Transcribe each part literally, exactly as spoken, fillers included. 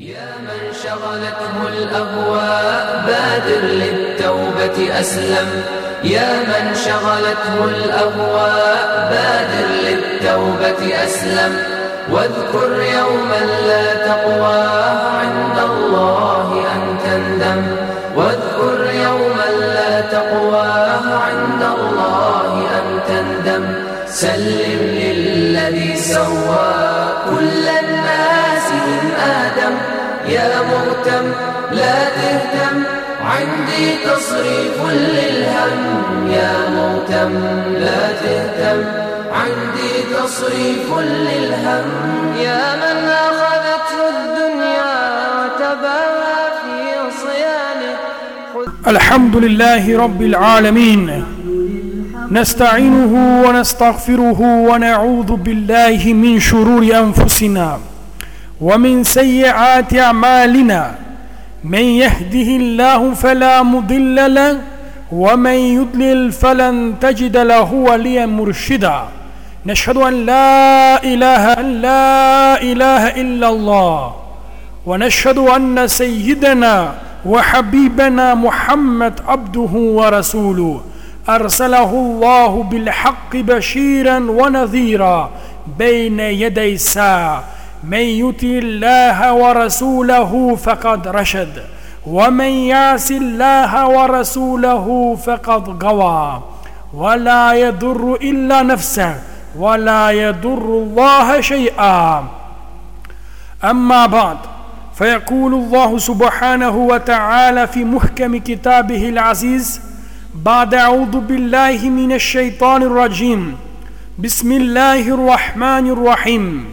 يا من شغلته الأهواء بادر للتوبة أسلم. يا من شغلته الأهواء بادر للتوبة أسلم. واذكر يوما لا تقوى عند الله أن تندم. واذكر يوما لا تقوى عند الله أن تندم. سلم للذي سوى كل الناس من آدم. يا مهتم لا تهتم عندي تصريف للهم. يا مهتم لا تهتم عندي تصريف للهم. يا من أخذته الدنيا وتباهى في صيانه. الحمد لله رب العالمين، نستعينه ونستغفره ونعوذ بالله من شرور أنفسنا ومن سيئات أعمالنا. من يهده الله فلا مضل له ومن يضلل فلن تجد له وليا مرشدا. نشهد أن لا إله أن لا إله إلا الله، ونشهد أن سيدنا وحبيبنا محمد عبده ورسوله، أرسله الله بالحق بشيرا ونذيرا بين يدي الساعة. من يطع الله ورسوله فقد رشد، ومن يعص الله ورسوله فقد غوى. ولا يضر إلا نفسه ولا يضر الله شيئا. أما بعد، فيقول الله سبحانه وتعالى في محكم كتابه العزيز بعد أعوذ بالله من الشيطان الرجيم. بسم الله الرحمن الرحيم.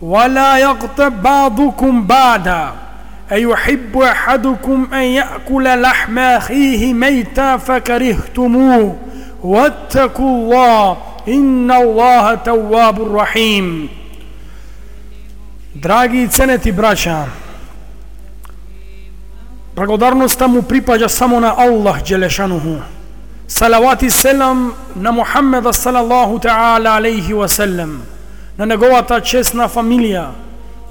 ولا يغتب بعضكم بعضا أيحب أحدكم أن يأكل لحم أخيه ميتا فكرهتموه واتقوا الله إن الله تواب رحيم. Драги ценети браќа, благодарноста му припаѓа само на Аллах Джелешануху. Салават и селам на Мухаммеда салаллаху таала алейхи ва селем, на неговата честна фамилија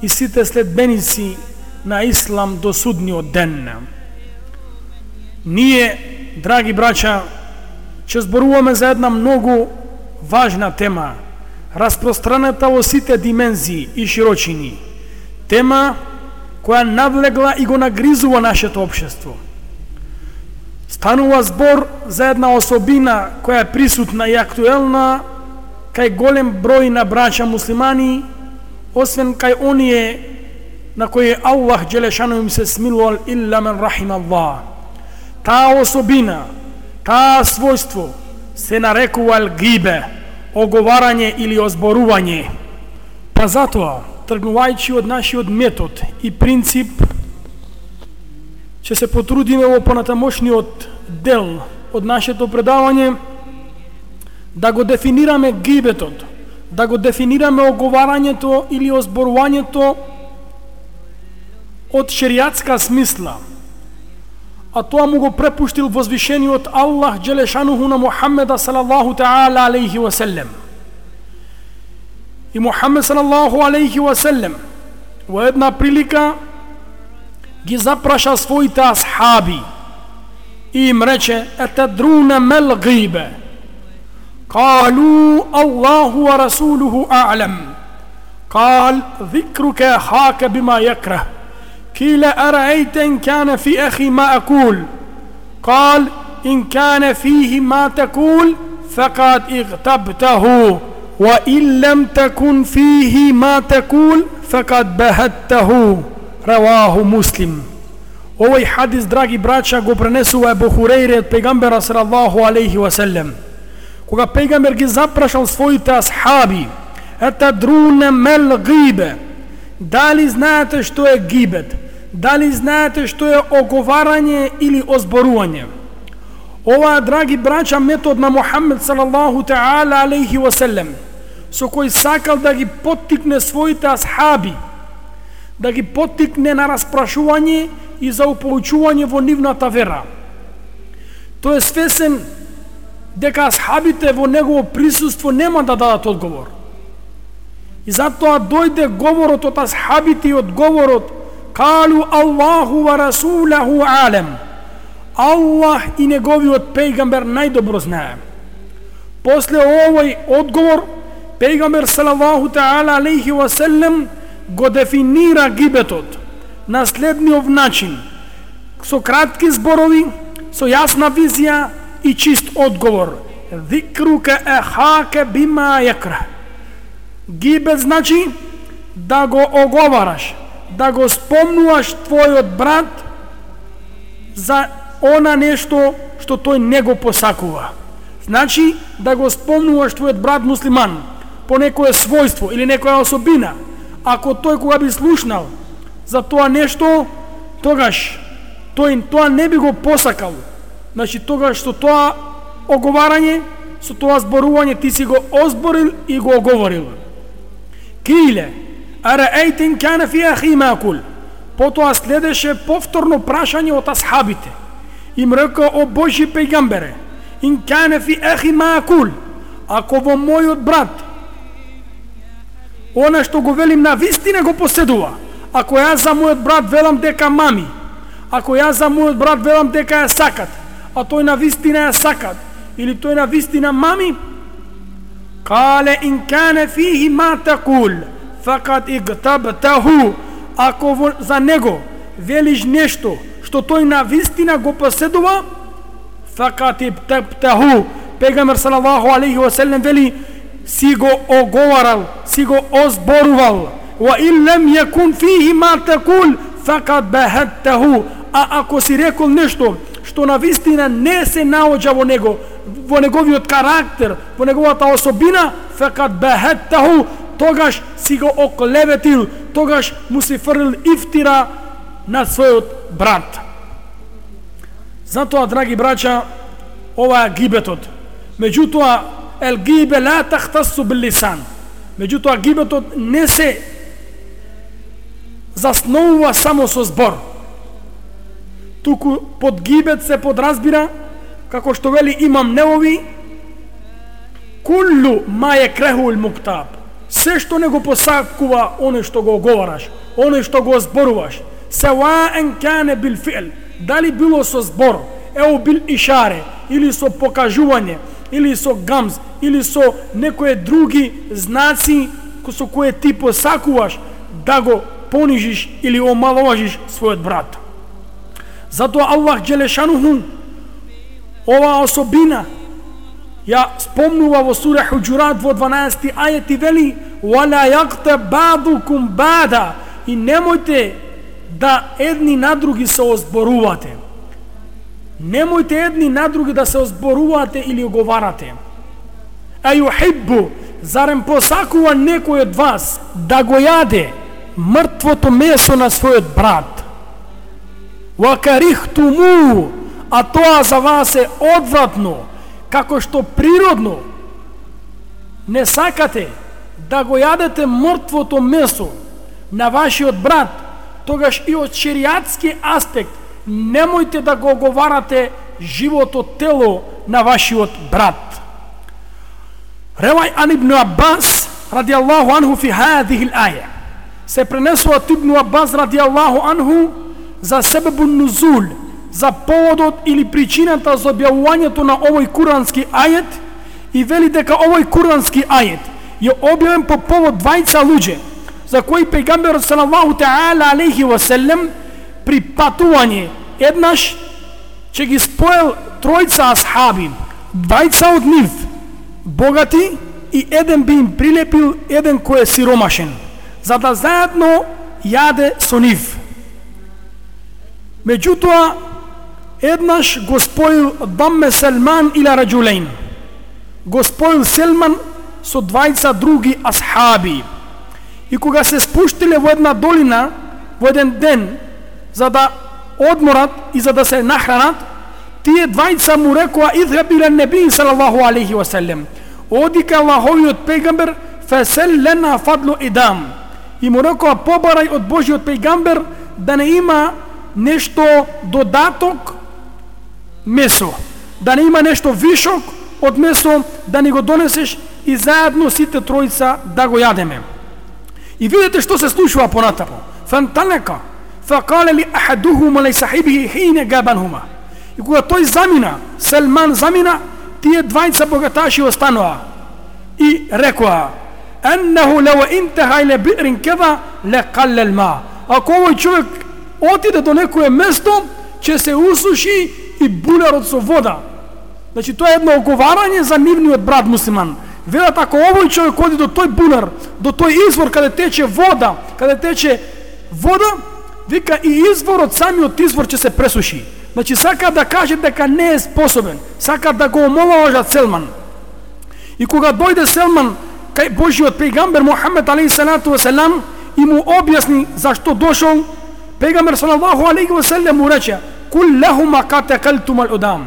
и сите следбеници на Ислам до судниот ден. Ние, драги браќа, ќе зборуваме за една многу важна тема, распространета во сите димензии и широчини. Тема која навлегла и го нагризува нашето општество. Станува збор за една особина која е присутна и актуелна кај голем број на браќа муслимани, освен кај оние на кои Аллах Джелешану им се смилувал, илла мен рахим Аллах. Таа особина, таа својство се нарекува гибе, оговарање или озборување. Па затоа, тргнувајќи од нашиот метод и принцип, ќе се потрудиме во понатамошниот дел од нашето предавање да го дефинираме гибетот, да го дефинираме оговарањето или озборувањето од шеријатска смисла. А тоа му го препуштил возвишениот Аллах Джелешануху на Мухаммеда салаллаху таала алейхи ва селем. И Мухаммед салаллаху алейхи ва селем во една прилика ги запраша своите асхаби и им рече: етадруна мел гибе? قالوا الله ورسوله أعلم. قال: ذكرك أخاك بما يكره. قيل: أرأيت إن كان في أخي ما أقول؟ قال: إن كان فيه ما تقول فقد اغتبته، وإن لم تكن فيه ما تقول فقد بهته. رواه مسلم. Овој хадис, драги браќа, го пренесува Ебу Хурейре од пегамбера салаллаху алейхи ва селем. Кога пегамбер ги запрашал своите асхаби: етадруна мел гибе? Дали знаете што е гибет? Дали знаете што е оговарање или озборување? Ова, драги браќа, метод на Мухаммед салаллаху таала алейхи ва селем, со кој сакал да ги поттикне своите асхаби, да ги поттикне на распрашување и за упоучување во нивната вера. Тој е свесен дека асхабите во негово присуство нема да дадат одговор. И затоа дојде говорот од асхабите и одговорот Калу Аллаху ва расулаху алем. Аллах и неговиот пејгамбер најдобро знае. После овој одговор, пејгамбер салаллаху таала алейхи ва селем го дефинира гибетот на следниот начин, со кратки зборови, со јасна визија и чист одговор. Зикрука ахака бима якрах. Гибет значи да го оговараш, да го спомнуваш твојот брат за она нешто што тој не го посакува. Значи да го спомнуваш твојот брат муслиман по некое својство или некоја особина. Ако тој кога би слушнал за тоа нешто, тогаш тој тоа не би го посакал. Значи тогаш со тоа оговарање, со тоа зборување ти си го озборил и го оговорил. Киле араейтин кана фи ахи макул. Потоа следеше повторно прашање од асхабите. Им река: о Божи пејгамбере, ин кана фи ахи макул, ако во мојот брат она што го велим на вистина го поседува, ако јас за мојот брат велам дека мами, ако јас за мојот брат велам дека ја сакат, а тој на вистина ја сакат, или тој на вистина мами, кале ин кане фихи ма такул, факат игтабтаху, ако во, за него велиш нешто што тој на вистина го поседува, факат игтабтаху, пејгамбер салаллаху алейхи ва селем вели, си го оговарал, си го озборувал. Ва ин лем јекун фихи ма такул, факат бахаттаху, а ако си рекол нешто што на вистина не се наоѓа во него, во неговиот карактер, во неговата особина, факат бахаттаху, тогаш си го оклеветил, тогаш му си фрлил ифтира на својот брат. Затоа, драги браќа, ова е гибетот. Меѓутоа, ел гибе ла тахтасу бил лисан. Меѓутоа, гибетот не се засновува само со збор. Туку под гибет се подразбира, како што вели имам Невови, куллу ма јекрехул муктаб. Се што не го посакува оне што го оговараш, оне што го зборуваш, севаен кане бил фи'л, дали било со збор, еу бил ишаре, или со покажување, или со гамз, или со некои други знаци со кои ти посакуваш да го понижиш или омаловажиш својот брат. Затоа Аллах Джелешануху ова особина ја спомнува во сура Хуџурат во дванаесети ајет и вели: "Вала јагтаб баъдукум баъда", и немојте да едни на други се озборувате. Немојте едни на други да се озборувате или оговарате. А юхиббу, зарем посакува некој од вас да го јаде мртвото месо на својот брат? Ва карихтуму, а тоа за вас е одвратно, како што природно не сакате да го јадете мртвото месо на вашиот брат, тогаш и од шеријатски аспект немојте да го оговарате живото тело на вашиот брат. Ревај ан ибн Аббас радијаллаху анху фи хадихи л-аја. Се пренесува од Ибн Аббас радијаллаху анху за себебун нузул, за поводот или причината за објавувањето на овој курански ајет, и вели дека овој курански ајет е објавен по повод двајца луѓе за кои пејгамберот салаллаху таала алейхи ва селем при патување еднаш ќе ги споел тројца асхаби, двајца од нив богати и еден би им прилепил еден кој е сиромашен, за да заедно јаде со нив. Меѓутоа, еднаш го споил Дамме Селман ила раджулейн, го споил Селман со двајца други асхаби. И кога се спуштиле во една долина во еден ден за да одморат и за да се нахранат, тие двајца му рекоа: "Идхаб ила неби салаллаху алейхи ва селем", оди ка Аллаховиот пејгамбер, фесел лена фадлу идам, и му рекоа: "Побарај од Божиот пејгамбер да не има нешто додаток месо, да не има нешто вишок од месо, да ни го донесеш и заедно сите тројца да го јадеме." И видите што се случува понатаму. Фанталека, فقال لأحدهما لصاحبه حين غابنهما. И кога тој замина, Селман замина, тие двајца богаташи останаа и рекоа: "Аннаху лаw интаха ila bi'rin kadha laqalla al-ma." Ако овој човек отиде до некое место, ќе се усуши и булерот со вода. Значи тоа е едно оговарање за нивниот брат муслиман. Велат, ако овој човек оди до тој булер, до тој извор каде тече вода, каде тече вода, вика и изворот, самиот извор ќе се пресуши. Значи сака да каже дека не е способен, сака да го омаловажат Селман. И кога дојде Селман кај Божиот пејгамбер Мухамед алейхиссалату веселам и му објасни зашто дошол, пејгамбер салаллаху алейхи веселем му рече: "Кул лахума катакалтум ал-удам."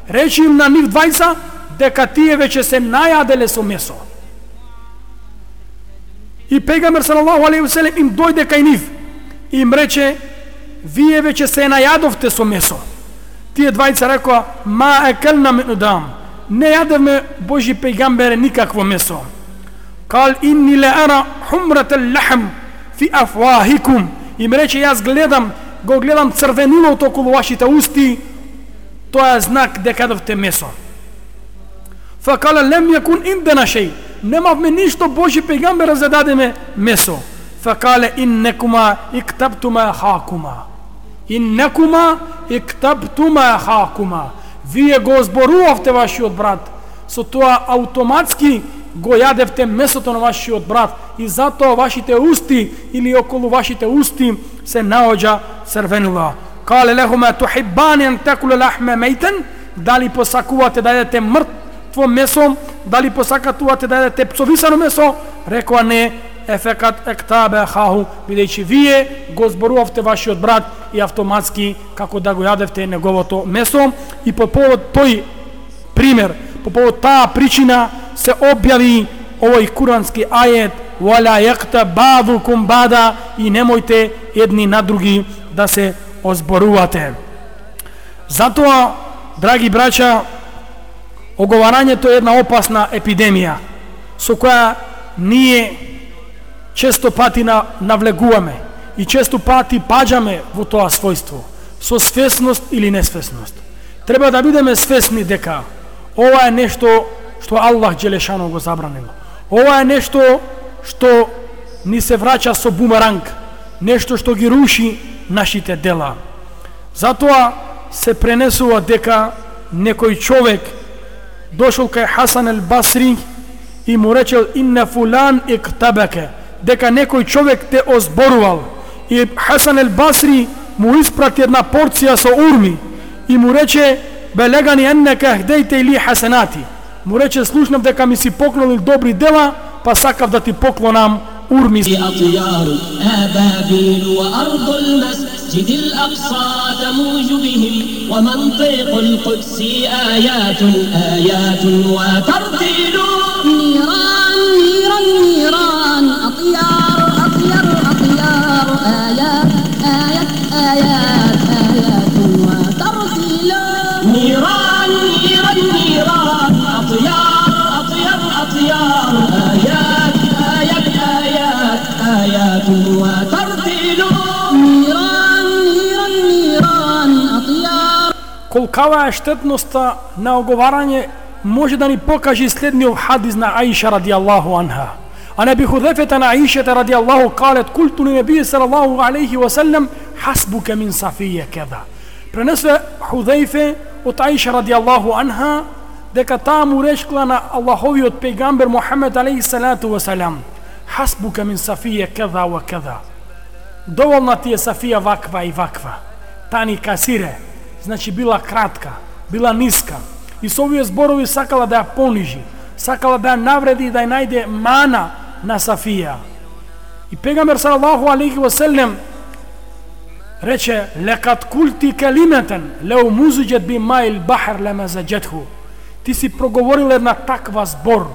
Речи им на нив двајца дека тие веќе се најаделе со месо. И пејгамбер салаллаху алейхи веселем им дојде кај нив и им рече: "Вие веќе се најадовте со месо." Тие двајца рекоа: "Ма екелна мин удам." Не јадевме, Божи пејгамбере, никакво месо. Кал инни ла ара хумрат ал-лахм фи афвахикум. Им рече: "Јас гледам, го гледам црвенилот околу вашите усти, тоа е знак дека јадовте месо." Факала лем јакун индена шеј. Немавме ништо, Божи пејгамбере, за да дадеме месо. Факале иннекума иктабтума хакума. Иннекума иктабтума хакума. Вие го зборувавте вашиот брат, со тоа автоматски го јадевте месото на вашиот брат и затоа вашите усти или околу вашите усти се наоѓа црвенила. Кале лехума тухиббани ан такулу лахма мейтен. Дали посакувате да јадете мртво месо? Дали посакувате да јадете псовисано месо? Рекоа не. Ефекат ектабе хаху, бидејќи вие го зборувавте вашиот брат и автоматски како да го јадевте неговото месо. И по повод тој пример, по повод таа причина се објави овој курански ајет: "Вала якта бадукум бада", и немојте едни на други да се озборувате. Затоа, драги браќа, оговарањето е една опасна епидемија со која ние често пати навлегуваме и често пати паѓаме во тоа својство, со свесност или несвесност. Треба да бидеме свесни дека ова е нешто што Аллах Джелешану го забранил. Ова е нешто што ни се враќа со бумеранг, нешто што ги руши нашите дела. Затоа се пренесува дека некој човек дошол кај Хасан ал-Басри и му речел: "Инна фулан иктабака", дека некој човек те озборувал. И Хасан ал-Басри му испрати една порција со урми и му рече: "Белегани еннека хдејте или хасанати." Му рече: "Слушнав дека ми си поклонил добри дела, па сакав да ти поклонам урми." أطيار آبابيل وأرض المسجد الأقصى تموج بهم ومنطق القدس آيات آيات وترتيل. نيران نيران نيران أطيار أطيار أطيار آيات آيات آيات آيات وترتيل. نيران نيران نيران أطيار أطيار أطيار آيات آيات آيات آيات وترتيل. نيران نيران نيران أطيار. Колкава е штетноста на оговарање може да ни покаже следниот хадис на Аиша радијаллаху анха. А Наби Худефета на Аиша радијаллаху калет: "Култу линебији салаллаху алейхи ва саллем хасбука мин Сафија кеда." Пренесе Худефе од Аиша радијаллаху анха дека таа му речкла на Аллаховиот пејгамбер Мухамед алейхи салату ва салам: "Хасбука мин Сафија кеда ва кеда." Доволна ти е Сафија ваква и ваква. Тани касире, значи била кратка, била ниска. И со овие зборови сакала да ја понижи, сакала да ја навреди и да ја најде мана на Сафија. И пејгамбер салаллаху алейхи ва саллем рече: "Лекат култи калиметен леу музиџет би маил бахар лемазаџетху." Ти си проговорил една таква збор,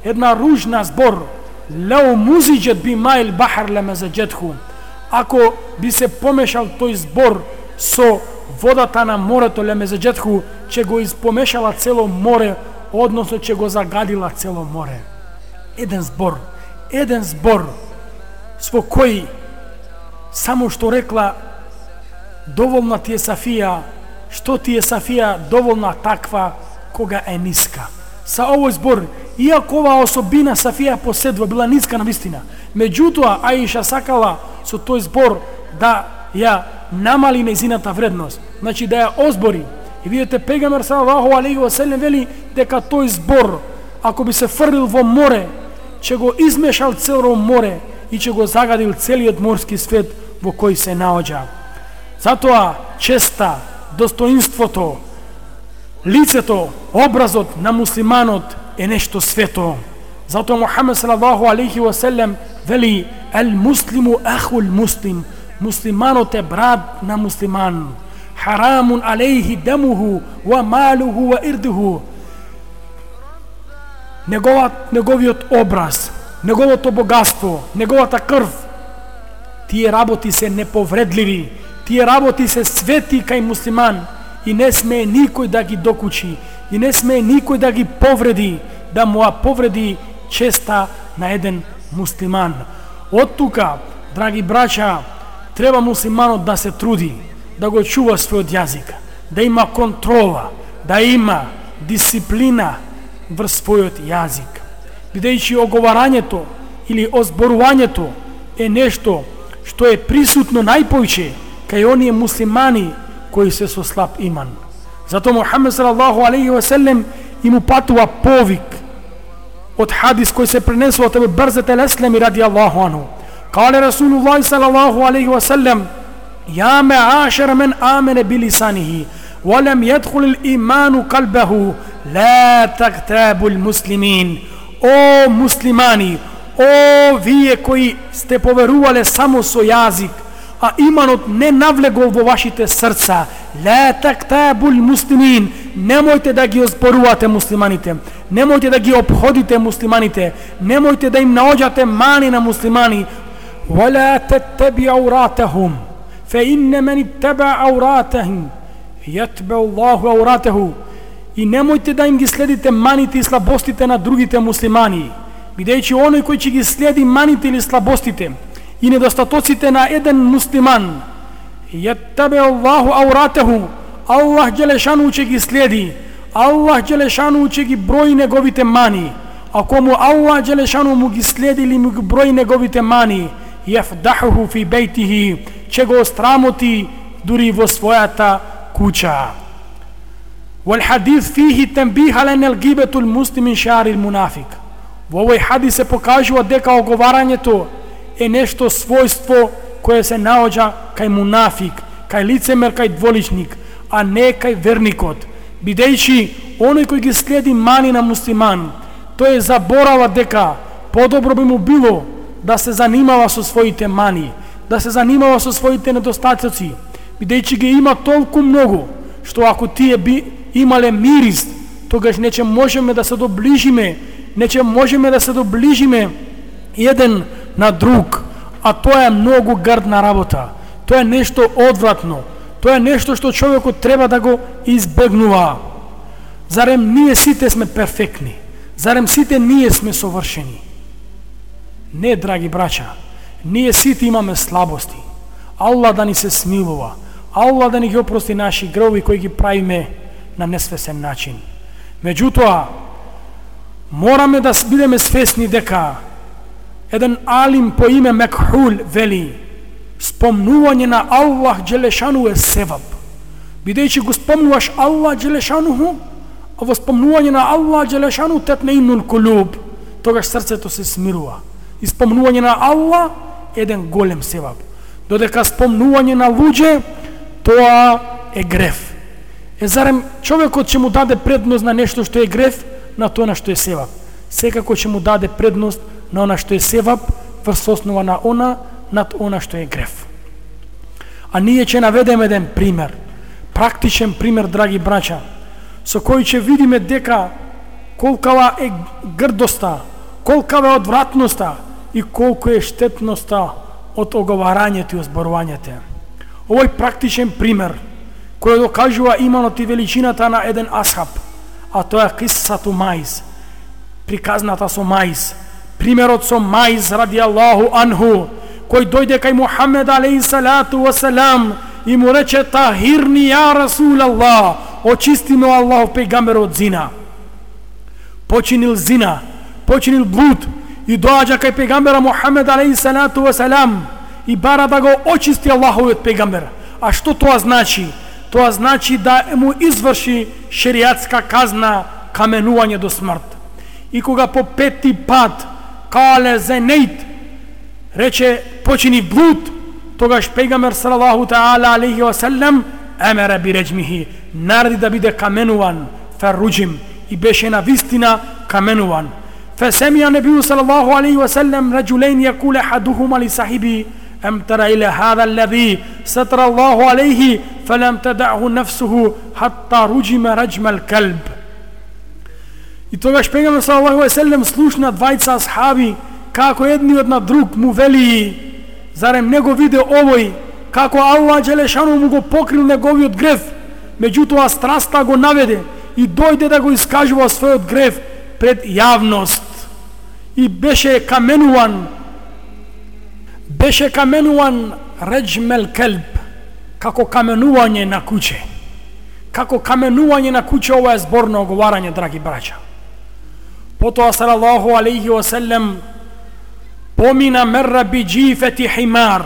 една ружна збор. Леу музиџет би маил бахар лемазаџетху. Ако би се помешал тој збор со водата на морето, лемазаџетху, че го испомешала цело море, односно че го загадила цело море. Еден збор, еден збор, со кој само што рекла доволна ти е Сафија, што ти е Сафија доволна таква кога е ниска. Са овој збор, иако оваа особина Сафија поседува била ниска на вистина, меѓутоа Аиша сакала со тој збор да ја намали нејзината вредност, значи да ја озбори. И видите, пегамбер салаллаху алейхи ва селем вели дека тој збор, ако би се фрлил во море, ќе го измешал цело море и ќе го загадил целиот морски свет во кој се наоѓа. Затоа честа, достоинството, лицето, образот на муслиманот е нешто свето. Затоа Мухамед салаллаху алейхи ва селем вели: "Ел муслиму ахул муслим", муслиманот е брат на муслиман. "Харамун алейхи дамуху ва малуху ва ирдуху", неговиот неговиот образ, неговото богатство, неговата крв, тие работи се неповредливи, тие работи се свети кај муслиман и не смее никој да ги докучи, и не смее никој да ги повреди, да му повреди честа на еден муслиман. Од тука, драги браќа, треба муслиманот да се труди, да го чува својот јазик, да има контрола, да има дисциплина врз својот јазик. Бидејќи оговарањето или озборувањето е нешто што е присутно најпојче кај оние муслимани кои се со слаб иман. Затоа Мухамед салаллаху алейхи ва селем им упатува повик од хадис кој се пренесува од Абу Барзат ал-Аслами радијаллаху анху. Кале Расулуллаҳи салаллаху алейхи ва селем: "Я маашара мен амена билисанихи ва лам јадхул ал-иману қалбаху, ла тагтабу al-муслимин." О муслимани, о вие кои сте поверувале само со јазик, а иманот не навлегол во вашите срца, ла тактабул муслимин, немојте да ги озборувате муслиманите, немојте да ги обходите муслиманите, немојте да им наоѓате мани на муслимани. Вала таттаби ауратахум, фе инне мен иттаба ауратахум јатба Аллаху ауратаху. И немојте да им ги следите маните и слабостите на другите муслимани, бидејќи оној кој ќе ги следи маните или слабостите и недостатоците на еден муслиман, јаттабе Аллаху ауратаху, Аллах џелешану ќе ги следи, Аллах џелешану ќе ги брои неговите мани. Ако му Аллах џелешану му ги следи или му ги брои неговите мани, јафдахуху фи бейтихи, ќе го острамоти дури во својата куќа. Вал хадис фихи танбих ала ан алгибату алмуслим мин шаъри алмунафик. Во овој хадис се покажува дека оговарањето е нешто својство кое се наоѓа кај мунафик, кај лицемер, кај дволичник, а не кај верникот. Бидејќи оној кој ги следи мани на муслиман, тој заборава дека подобро би му било да се занимава со своите мани, да се занимава со своите недостатоци, бидејќи ги има толку многу, што ако тие би имале мирис, тогаш не ќе можеме да се доближиме, не ќе можеме да се доближиме еден на друг, а тоа е многу грдна работа. Тоа е нешто одвратно. Тоа е нешто што човекот треба да го избегнува. Зарем ние сите сме перфектни? Зарем сите ние сме совршени? Не, драги браќа, ние сите имаме слабости. Аллах да ни се смилува. Аллах да ни ги опрости наши греови кои ги правиме на несвесен начин. Меѓутоа, мораме да бидеме свесни дека еден алим по име Мекхул вели: спомнување на Аллах џелешану е севаб. Бидејќи го спомнуваш Аллах џелешану, а во спомнување на Аллах џелешану татмеинул кулуб, тогаш срцето се смирува. И спомнување на Аллах е еден голем севаб. Додека спомнување на луѓе, тоа е греф. Е, зарем човекот ќе му даде предност на нешто што е греф, на тоа на што е севаб? Секако ќе му даде предност на она што е севаб врз основа на она над она што е греф. А ние ќе наведеме еден пример, практичен пример, драги браќа, со кој ќе видиме дека колкава е грдоста, колкава е одвратноста и колку е штетноста од оговарањето и озборувањето. Овој практичен пример кој докажува иманот и величината на еден асхаб, а тоа е кисату Маиз, приказната со Маиз, примерот со Маиз радијаллаху анху, кој дојде кај Мухамед алейхи салату ва салам и му рече: "Тахирни ја Расул Аллах, очисти ме Аллахов пејгамбер од зина." Починил зина, починил блуд и доаѓа кај пејгамбера Мухамед алейхи салату ва салам и бара да го очисти Аллаховиот пејгамбер. А што тоа значи? Тоа значи да му изврши шеријатска казна, каменување до смрт. И кога по пети пат кале зенейт, рече почини блуд, тогаш пејгамбер салаллаху таала алейхи ва салам емере би реджмихи, нареди да биде каменуван, ферруджим, и беше на вистина каменуван. فسمع النبي صلى الله عليه وسلم رجلين يقول أحدهما لصاحبه: أم ترى إلى هذا الذي ستر الله عليه فلم تدعه نفسه حتى رجم رجم الكلب. И тогаш пејгамбер салаллаху алейхи ва саллем слушна двајца асхаби како едниот на друг му вели: зарем не го виде овој како Аллах джелешану му го покрил неговиот грев, меѓутоа страста го наведе и дојде да го искажува својот грев пред јавност и беше каменуван беше каменуван реджмел келб, како каменување на куче. Како каменување на куче, ова е зборно оговарање, драги браќа. Потоа салаллаху алейхи ва саллем помина мерра би джифети химар,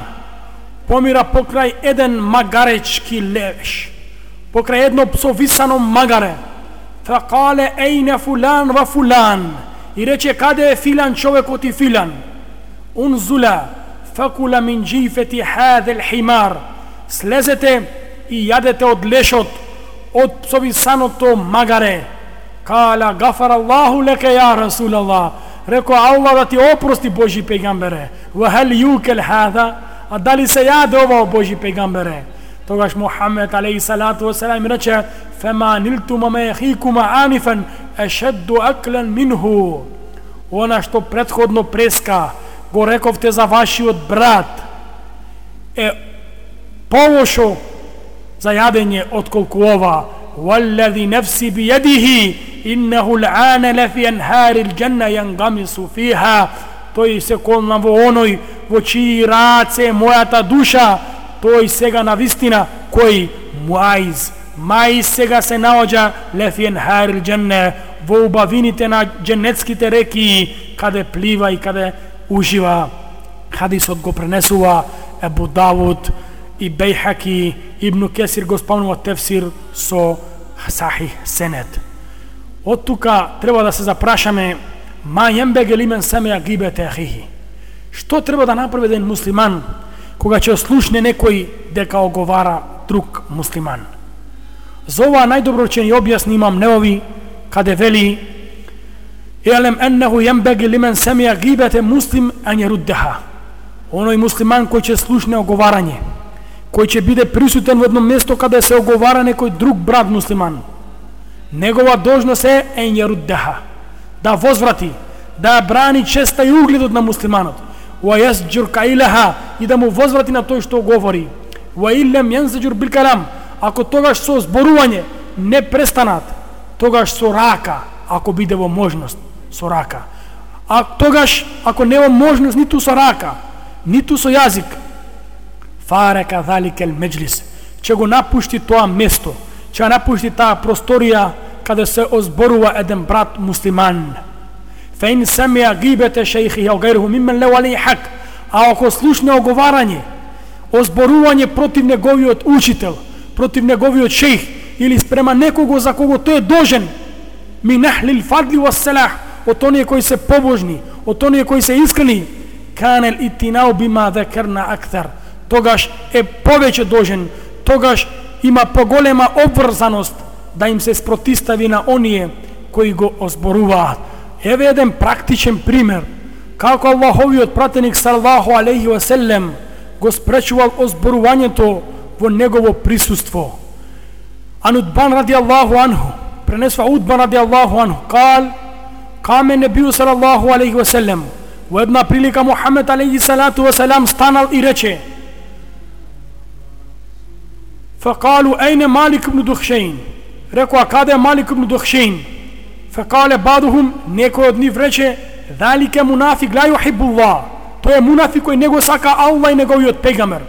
помира покрај еден магаречки левеш, покрај едно псовисано магаре. Факале ейне фулан ва фулан, и рече: каде е филан човекот и филан? Унзула факула мин джифети хадел химар, слезете и јадете од лешот од псовисаното магаре. Кала гафар Аллаху леке ја Расул Аллах, реко: Аллах да ти опрости, Божи пејгамбере. Ва хал јукел хада, а дали се јаде ова, Божи пејгамбере? Тогаш Мухамед алейхи салату ва салам рече: фема нилтума ме хикума анифан ешедду аклан минху. Она што претходно преска го рековте за вашиот брат е полошо за јадење отколку ова. Валлади нефси би јадихи иннаху л'ана лафи анхари l'џанна јангамису фиха. Тој се колна во оној во чии раце мојата душа, тој сега на вистина кој муаиз мај сега се наоѓа лафи анхари l'џанна, во убавините на дженетските реки, каде плива и каде ужива. Хадисот го пренесува Ебу Давуд и Бейхаки, Ибн Кесир го спомнува тефсир со сахих сенет. Од тука треба да се запрашаме: ма јембеге лимен семеја гибете ахихи. Што треба да направи еден муслиман кога ќе слушне некој дека оговара друг муслиман? За ова најдобро ќе ни објасни имам Неови, каде вели: Елем еннеху јембеге лимен семеја гибете муслим ан јеруддеха. Оној муслиман кој ќе слушне оговарање, кој ќе биде присутен во едно место каде се оговара некој друг брат муслиман, негова должност е ен јеруддеха, да возврати, да брани честа и угледот на муслиманот, ва јасџур каилеха, и да му возврати на тој што говори, ва илем јанзаџур бил калам, ако тогаш со зборување не престанат, тогаш со рака, ако биде во можност, со рака. А тогаш, ако не во можност ниту со рака, ниту со јазик, фарека заликел меџлис, ќе го напушти тоа место, ќе напушти таа просторија каде се озборува еден брат муслиман. Феин семеја гибете шејхи ја гайрху миммен леу алейхи хак, а ако слушне оговарање, озборување против неговиот учител, против неговиот шејх, или спрема некого за кого тој е должен, ми нахлил фадли ва селах, од оние кои се побожни, од оние кои се искрени, канел итинау бима декерна актар, тогаш е повеќе должен, тогаш има поголема обврзаност да им се спротистави на оние кои го озборуваат. Еве еден практичен пример како Аллаховиот пратеник салаллаху алейхи ва селем го спречувал озборувањето во негово присуство. Ан Удбан ради Аллаху анху, пренесва Удбан ради Аллаху анху, кал, каме небiju салаллаху алейхи ва селем, во една прилика Мухамед алейхи салату ва салам станал и рече: فقالوا أين مالك بن دخشين؟ ركوا كذا مالك بن دخشين. فقال بعضهم نيكو دنيف رече: ذلك منافق لا يحب الله. تو е منافق кој него сака Аллах и неговиот пејгамбер.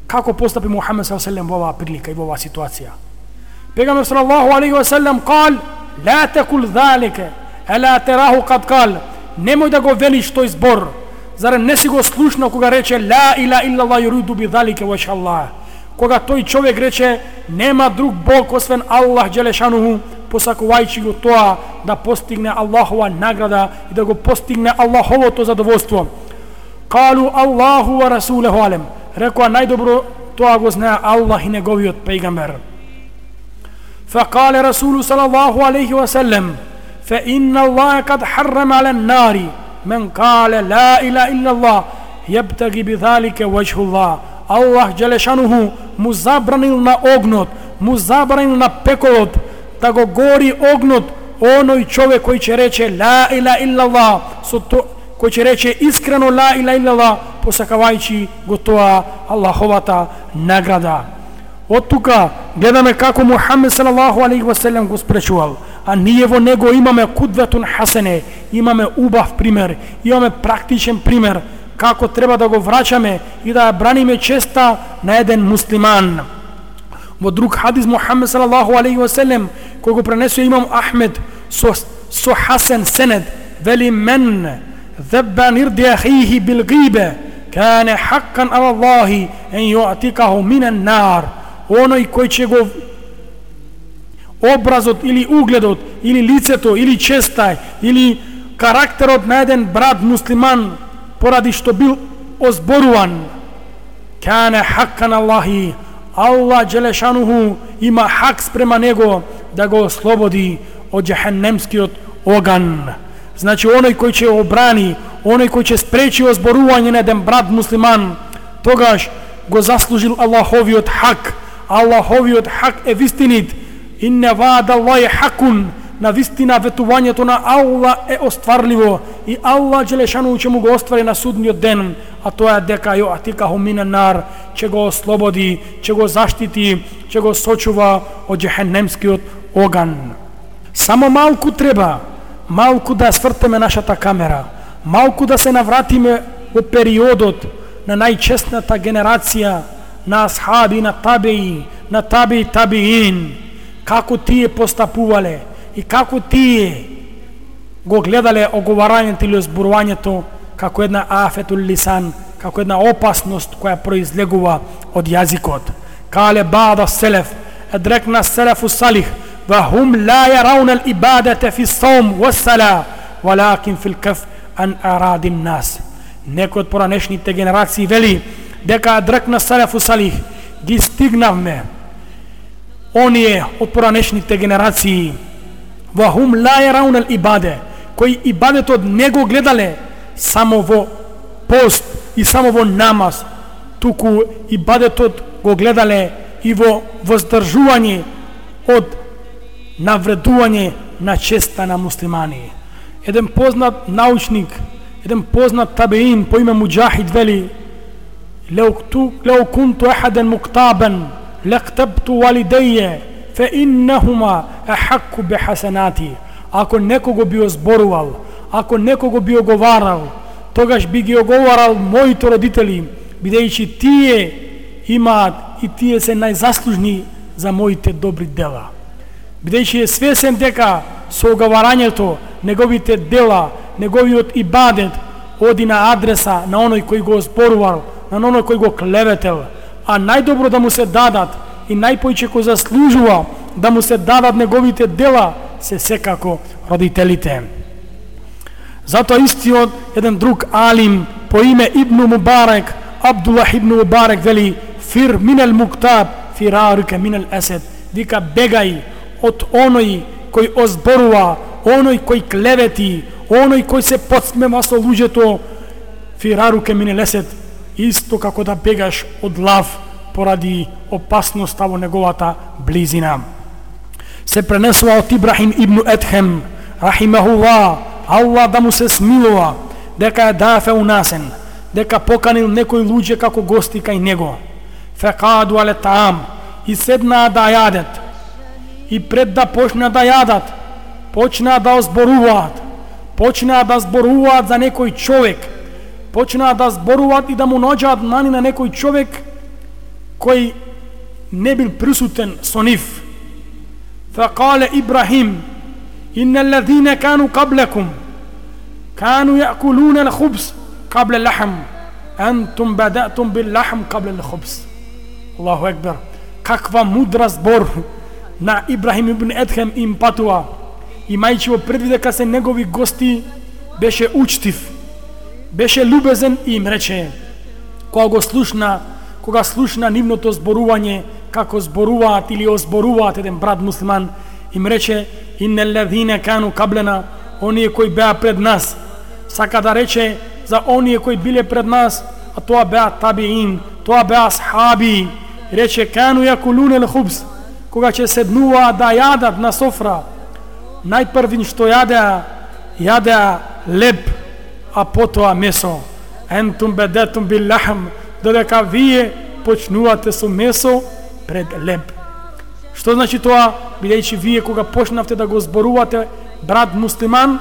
Како постапи Мухамед саллаллаху алейхи ва саллем во оваа прилика и во оваа ситуација? Пегамбер саллаллаху алейхи ва саллем кал: "Ла такул залика, ала тараху кад кал." Немој да го велиш тој збор. Зарем не си го слушнал кога рече ла ила иллаллах юриду би залика вајш Аллах? Кога тој човек рече нема друг Бог освен Аллах джелешануху, посакувајќи го тоа да постигне Аллахова награда и да го постигне Аллаховото задоволство. Калу Аллаху ва расулуху алем. Рекоа најдобро тоа го знае Аллах и неговиот пејгамбер. Факале Расулу салаллаху алейхи ва саллем: "Фа инна Аллаха кад харрама ала нари мен кале ла ила иллаллах јабтаги би залика вајхуллах." Аллах джелешануху му забранил на огнот, му забранил на пеколот да го гори огнот оној човек кој ќе рече ла ила иллаллах, со то кој ќе рече искрено ла ила иллаллах, посакавајќи го тоа Аллаховата награда. Од тука гледаме како Мухамед салаллаху алейхи ва саллем го спречувал, а ние во него имаме кудветун хасене, имаме убав пример, имаме практичен пример како треба да го враќаме и да ја браниме честа на еден муслиман. Во друг хадис Мухамед салаллаху алейхи ва саллем кој го пренесува имам Ахмед со, со хасен сенед, вели: "Мен ذبا نرد أخيه بالغيبة كان حقا على الله أن يعتقه من النار." Оној кој ќе го образот или угледот или лицето или честа или карактерот на еден брат муслиман поради што бил озборуван, кане хаккан Аллахи, Аллах джелешануху има хак спрема него да го ослободи од џехенемскиот оган. Значи оној кој ќе обрани, оној кој ќе спречи озборување на еден брат муслиман, тогаш го заслужил Аллаховиот хак. Аллаховиот хак е вистинит. Инне ваъда Аллахи хакун. На вистина ветувањето на Аллах е остварливо и Аллах джелешану ќе му го оствари на судниот ден, а тоа е дека ја атикаху минен нар, ќе го ослободи, ќе го заштити, ќе го сочува од џехенемскиот оган. Само малку треба, малку да свртеме нашата камера, малку да се навратиме во периодот на најчестната генерација на асхаби, на табеи, на таби табиин, како тие постапувале и како тие го гледале оговарањето или озборувањето како една афетул лисан, како една опасност која произлегува од јазикот. Кале бада селеф, едрекна селефу салих, ва хум ла јарауна l'ибадата фи саум ва сала, валакин фил каф ан арадин нас. Некој од поранешните генерации вели дека едрекна селефу салих, ги стигнавме оние од поранешните генерации, ва хум ла јарауна l'ибаде, кои ибадетот не го гледале само во пост и само во намаз, туку ибадетот го гледале и во воздржување од навредување на честа на муслимани. Еден познат научник, еден познат табеин по име Муджахид вели: "Леу кунту ахаден муктабен, лектабту валидеје, фе иннахума ахакку бехасенати." Ако некого би озборувал, ако некого би оговарал, тогаш би ги оговарал моите родители, бидејќи тие имаат и тие се најзаслужни за моите добри дела. Бидејќи е свесен дека со оговарањето неговите дела, неговиот ибадет оди на адреса на оној кој го озборувал, на оној кој го клеветел, а најдобро да му се дадат и најпојче кој заслужува да му се дадат неговите дела се секако родителите. Затоа истиот еден друг алим по име Ибн Мубарек, Абдуллах ибн Мубарек вели: "Фир минел муктаб, фираруке минел есед." Вика, бегај од оној кој озборува, оној кој клевети, оној кој се подсмева со луѓето, фираруке минел есед, исто како да бегаш од лав поради опасноста во неговата близина. Се пренесува од Ибрахим ибн Едхем, рахимахуллах, Аллах да му се смилува, дека е дафе унасен, дека поканил некои луѓе како гости кај него. Фекаду але таам, и седнаа да јадат, и пред да почнаа да јадат, почнаа да озборуваат, почнаа да зборуваат за некој човек, почнаа да зборуваат и да му наоѓаат мани на некој човек, кој не бил присутен со нив. فقال إبراهيم إن الذين كانوا قبلكم كانوا يأكلون الخبز قبل اللحم أنتم بدأتم باللحم قبل الخبز. الله أكبر. Каква мудра збор на Ибрахим ибн Едхем им патува, имајќи во предвид дека се негови гости, беше учтив, беше любезен и им рече, кога го слушна, кога слушна нивното зборување, како зборуваат или озборуваат еден брат муслиман, им рече: иннел лазина кану каблена, оние кои беа пред нас. Сака да рече за оние кои биле пред нас, а тоа беа табиин, тоа беа асхаби. Рече: кану јакулуне лхубс, кога ќе седнува да јадат на софра, најпрвин што јадеа, јадеа леб, а потоа месо. Ентум бедетум бил лахм, додека вие почнувате со месо пред леб. Што значи тоа? Бидејќи вие кога почнавте да го зборувате брат муслиман,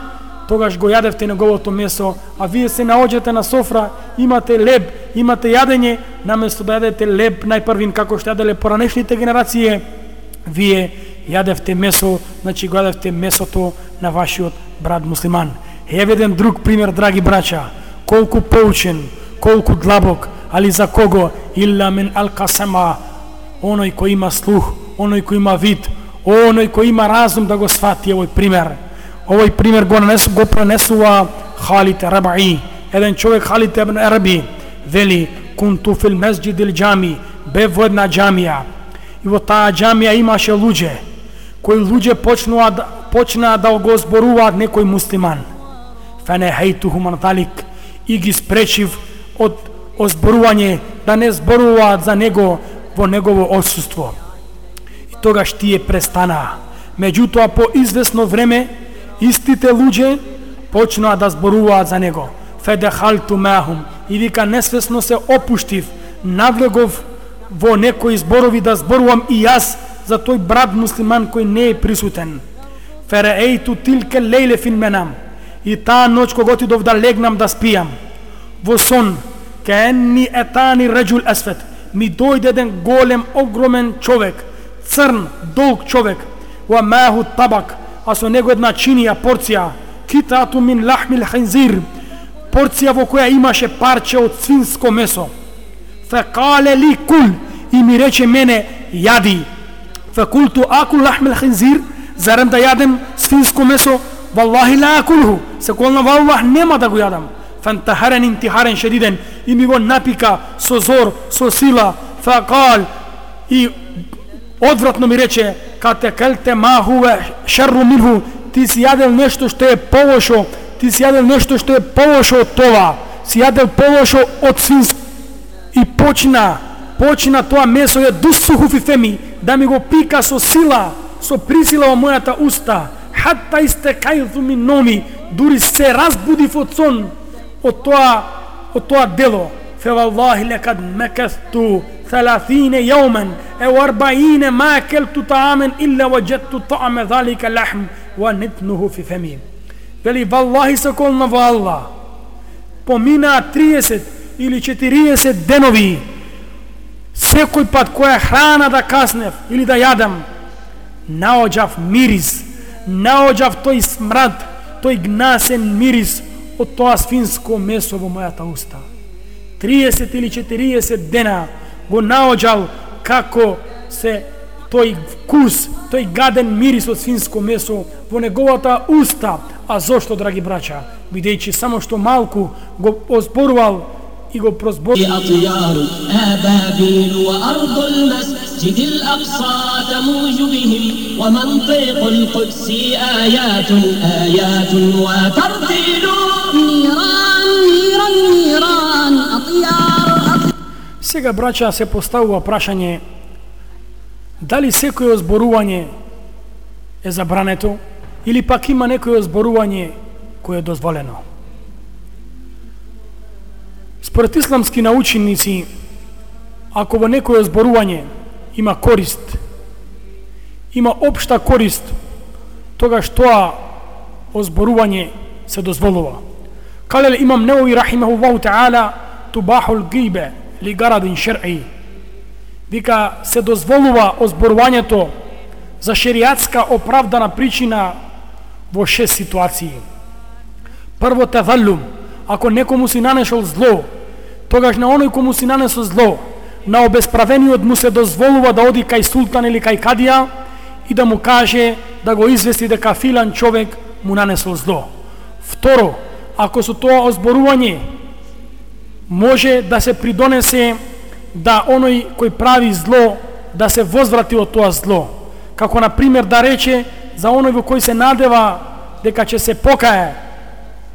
тогаш го јадевте неговото месо, а вие се наоѓате на софра, имате леб, имате јадење, наместо да јадете леб најпрвин како што јаделе поранешните генерации, вие јадевте месо, значи го јадевте месото на вашиот брат муслиман. Еве еден друг пример, драги браќа, колку поучен, колку длабок, али за кого? Илла мен алкасама, оној кој има слух, оној кој има вид, оној кој има разум да го свати овој пример. Овој пример го, нанесу, го пренесува Халид Рабаи. Еден човек, Халид ибн Раби, вели: кунту фил месџидил џами, бе во една џамија, и во таа џамија имаше луѓе, кои луѓе почнаа да, почнаа да го зборуваат некој муслиман. Фанехейтухум ан талик, и ги спречив од озборување, да не зборуваат за него во негово отсуство. И тогаш тие престанаа. Меѓутоа по извесно време истите луѓе почнаа да зборуваат за него. Федехалту махум, и вика несвесно се опуштив, навлегов во некои зборови да зборувам и јас за тој брат муслиман кој не е присутен. Фереейту тилке лейле фин менам, и таа ноќ кога отидов да легнам да спијам, во сон, каенни етани реджул есфет, ми дојде еден голем, огромен човек, црн, долг човек, ва маху табак, а со него една чинија, порција, китату мин лахмил хинзир, порција во која имаше парче од свинско месо. Фекале ли кул, и ми рече мене: јади. Фекулту акул лахмил хинзир, зарем да јадем свинско месо? Валлахи ла акулху, се колна валлах нема да го јадам. Фантахарен интихарен шедиден, и ми го напика со зор, со сила. Фекал, и одвратно ми рече: кате келте махуве шерру минху, ти си јадел нешто што е полошо, ти си јадел нешто што е полошо од това, си јадел полошо од свинско. И почна, почна тоа месо е дусуху фи феми, да ми го пика со сила, со присила во мојата уста. Хатта истекајту мин номи, дури се разбудив од сон од тоа, од тоа дело. Феваллахи лекад мекесту ثلاثين يوما أو أربعين ما أكلت طعاما إلا وجدت طعم ذلك اللحم ونتنه في فمي. Вели, валлахи се колна во Аллах, помина триесет или четириесет денови, секој пат која храна да каснев или да јадам, наоѓав мирис, наоѓав тој смрад, тој гнасен мирис од тоа свинско месо во мојата уста. триесет или четириесет дена го наоѓал како се тој вкус, тој гаден мирис од свинско месо во неговата уста. А зошто, драги браќа? Бидејќи само што малку го озборувал и го прозборувал. أطيار أبابيل وأرض المسجد الأقصى تموج بهم ومنطق القدس آيات آيات وترتيل. نيران نيران نيران أطيار أطيار. Сега, браќа, се поставува прашање дали секој озборување е забрането или пак има некој озборување кое е дозволено. Според исламски наученици, ако во некој озборување има корист, има општа корист, тогаш тоа озборување се дозволува. Калел имам Неови рахимахуллаху таала: тубахул гибе ли гарадин шер'i. вика се дозволува озборувањето за шеријатска оправдана причина во шест ситуации. Прво, таваллум, ако некому си нанешол зло, тогаш на оној кому си нанесол зло, на обесправениот му се дозволува да оди кај султан или кај кадија и да му каже да го извести дека филан човек му нанесол зло. Второ, ако со тоа озборување може да се придонесе да оној кој прави зло да се возврати од тоа зло, како на пример да рече за оној во кој се надева дека ќе се покае,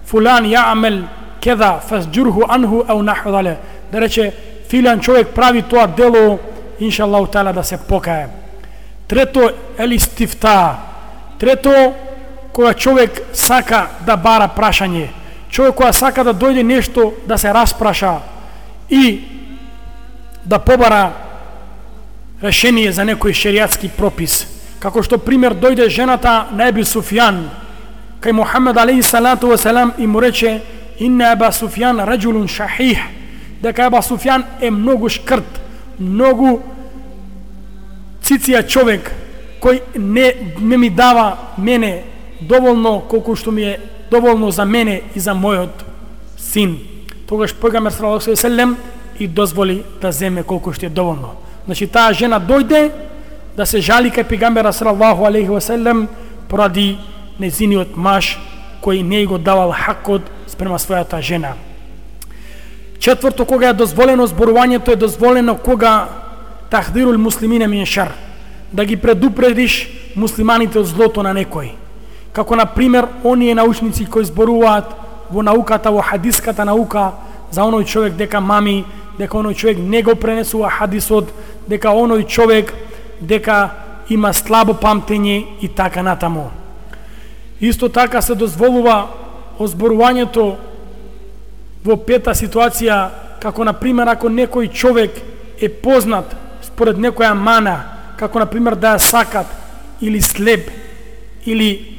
фулан јаамел кеда фасџурху анху ау наху дале, да рече филан човек прави тоа дело, иншаллаху таала да се покае. Трето, елистифта. Трето, кога човек сака да бара прашање, човек кога сака да дојде нешто да се распраша и да побара решение за некој шеријатски пропис. Како што пример дојде жената на Еби Суфјан кај Мухамед алейхи салату ва салам и му рече инна Еба Суфјан раджулун шахих, дека Еба Суфјан е многу шкрт, многу циција човек кој не, не ми дава мене доволно колку што ми е доволно за мене и за мојот син. Тогаш пегамбер саллаллаху алейхи ве селем и дозволи да земе колку што е доволно. Значи таа жена дојде да се жали кај пегамбера саллаллаху алейхи ве селем поради незиниот маж кој не го давал хакот спрема својата жена. Четврто, кога е дозволено зборувањето, е дозволено кога тахдирул муслимине мин шар, да ги предупредиш муслиманите од злото на некој. Како на пример оние научници кои зборуваат во науката, во хадиската наука, за оној човек дека мами, дека оној човек не го пренесува хадисот, дека оној човек дека има слабо памтење и така натаму. Исто така се дозволува озборувањето во пета ситуација, како на пример ако некој човек е познат според некоја мана, како на пример да ја сакат или слеп или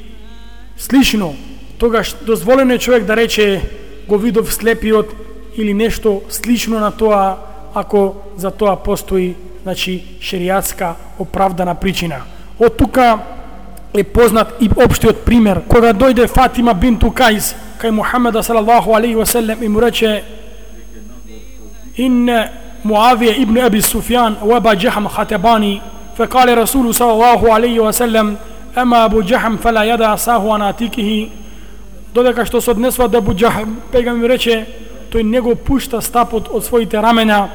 слично, тогаш дозволено е човек да рече го видов слепиот или нешто слично на тоа, ако за тоа постои, значи, шеријатска оправдана причина. Од тука е познат и општиот пример, кога дојде Фатима бинту Кајс кај Мухамеда салаллаху алейхи ве селем и му рече ин Муавија ибн Аби Суфјан ва Аба Џахм хатебани, фекале Расулу салаллаху алейхи ве селем ама Абу Џахм фала јада асаху ан атикихи, додека што се однесува до Абу Џахм, пегамбер ми рече тој не го пушта стапот од своите рамена,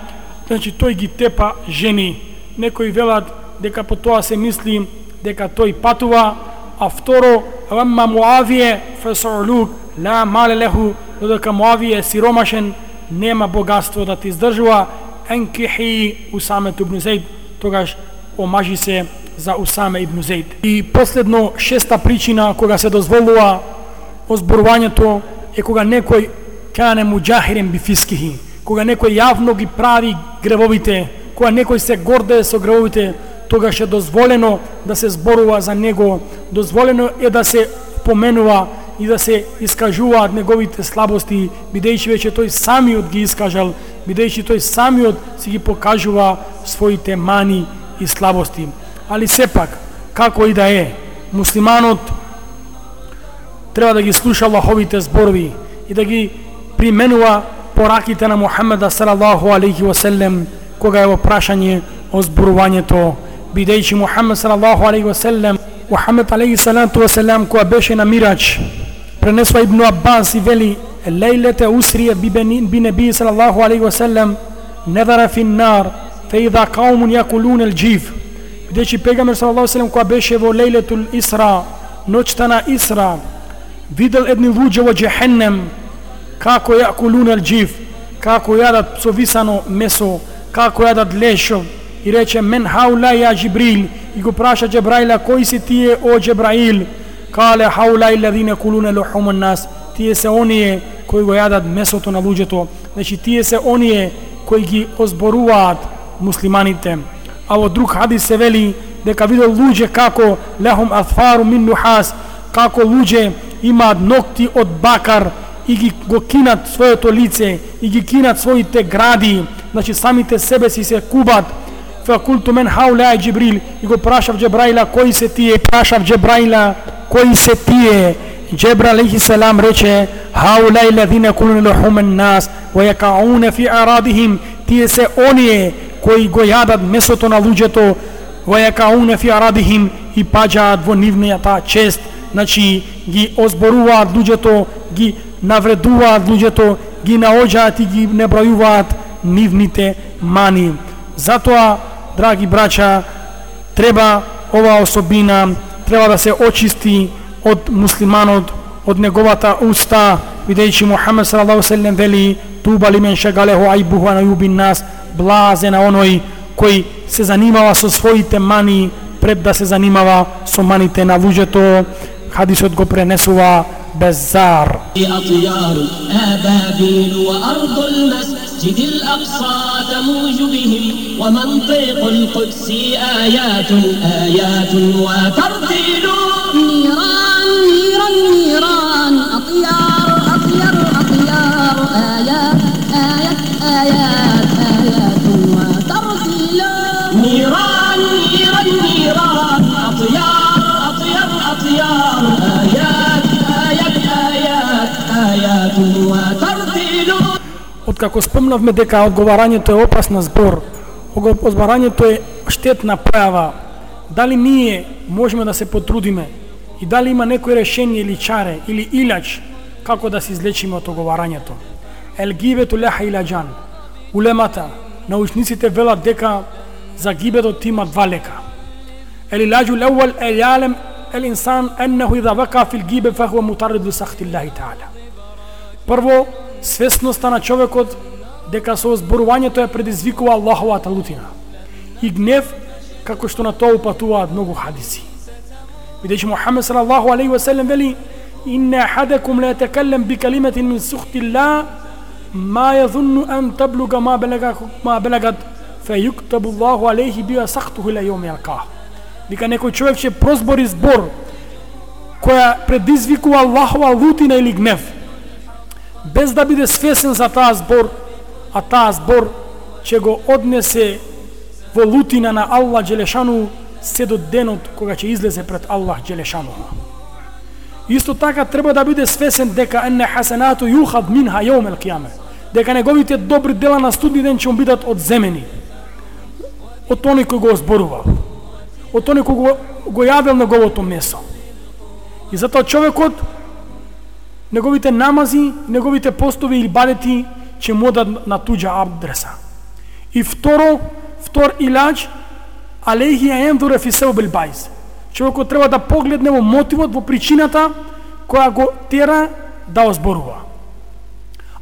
значи тој ги тепа жени. Некои велат дека по тоа се мисли дека тој патува, а второ ама Муавија фасулук ла мале леху, додека Муавија е сиромашен, нема богатство да ти издржува, енкихи Усаме ибн Зейд, тогаш омажи се за Усаме ибн Зейд. И последно, шеста причина кога се дозволува озборувањето е кога некој кане муџахирен бифискихи, кога некој јавно ги прави гревовите, кога некој се гордее со гревовите, тогаш е дозволено да се зборува за него, дозволено е да се поменува и да се искажуваат неговите слабости, бидејќи веќе тој самиот ги искажал, бидејќи тој самиот си ги покажува своите мани и слабости. Али сепак, како и да е, муслиманот треба да ги слуша Аллаховите зборови и да ги применува пораките на Мухамеда салаллаху алейхи ве селем кога е во прашање о зборувањето, бидејќи Мухамед салаллаху алейхи ве селем, Мухамед алейхи салату ве селем кога беше на мирач, пренесува Ибн Аббас и вели лейлете усрија би неби салаллаху алейхи ве селем недара фин нар фе идha qaum yaqulun al-jif, бидејќи пегамбер салаллаху алейхи ве селем кога беше во лейлетул Исра, ноќта на Исра, видел едни луѓе во џехеннем како јакулун ал-џиф, како јадат псовисано месо, како јадат лешо, и рече мен хаула ја Џибрил, и го праша Џебраила кои си тие о Џебраил, кале хаула илладина кулуна лухум an-нас, тие се оние кои го јадат месото на луѓето, значи тие се оние кои ги озборуваат муслиманите. А во друг хадис се вели дека видел луѓе како лехум афару мин нухас, како луѓе имаат ногти од бакар и ги го кинат своето лице и ги кинат своите гради, значи самите себе си се кубат فقلت من هؤلاء جبريل и го прашав Джебраила кои се тие, прашав Джебраила кои се тие. Джебраил алейхи салам рече هؤلاء الذين يأكلون لحوم الناس ويقعون في أعراضهم, тие се оние кои го јадат месото на луѓето, ويقعون في أعراضهم и паѓаат во нивната чест, значи ги озборуваат луѓето, ги навредуваат луѓето, ги наоѓаат и ги небројуваат нивните мани. Затоа, драги браќа, треба ова особина, треба да се очисти од муслиманот, од неговата уста, бидејќи Мухамед салаллаху алейхи ве селем вели: туба лимен шагалеху ајбуху ан ајубин нас, блазе на оној кој се занимава со своите мани пред да се занимава со маните на луѓето. Хадисот го пренесува Беззар. أطيار آبابيل وأرض المسجد الأقصى تموج بهم ومنطق القدس آيات آيات وترتيل. نيران نيران نيران أطيار أطيار أطيار آيات آيات آيات آيات وترتيل. نيران نيران نيران أطيار أطيار أطيار آيات آيات آيات آيات وترتيل. Откако спомнавме дека одговарањето е опасна збор, одговарањето е штетна појава, дали ние можеме да се потрудиме и дали има некој решение или чаре или илач како да се излечиме од оговарањето? Ел гибету леха иладжан. Улемата, научниците велат дека за гибетот има два лека. Ел иладжу леуал ел јалем ел инсан еннеху идha вака фил гибе фахуа мутарриду сахти Аллахи таала. Прво, свесноста на човекот дека со зборувањето е предизвикува Аллаховата лутина и гнев, како што на тоа упатуваат многу хадиси. Бидејќи Мухамед салаллаху алейхи ве селем вели: инна ахадакум ла јатакаллам би калиматин мин сухти Аллах ма јазунну ан таблуга ма балага ма балагат фејуктабу Аллаху алейхи биха сахтуху ила јауми јалқах. Дека некој човек ќе прозбори збор која предизвикува Аллахова лутина или гнев, без да биде свесен за таа збор, а таа збор ќе го однесе во лутина на Аллах Джелешану се до денот кога ќе излезе пред Аллах Джелешану. Исто така треба да биде свесен дека енне хасанату юхад минха јаум ел қијаме, дека неговите добри дела на судни ден ќе му бидат одземени од тој кој го зборувал, од тој кој го, го јадел неговото месо. И затоа човекот, неговите намази, неговите постови или бадети ќе му одат на туѓа адреса. И второ, втор илач, алейхи аендуре фи себил байз. Човекот треба да погледне во мотивот, во причината која го тера да озборува.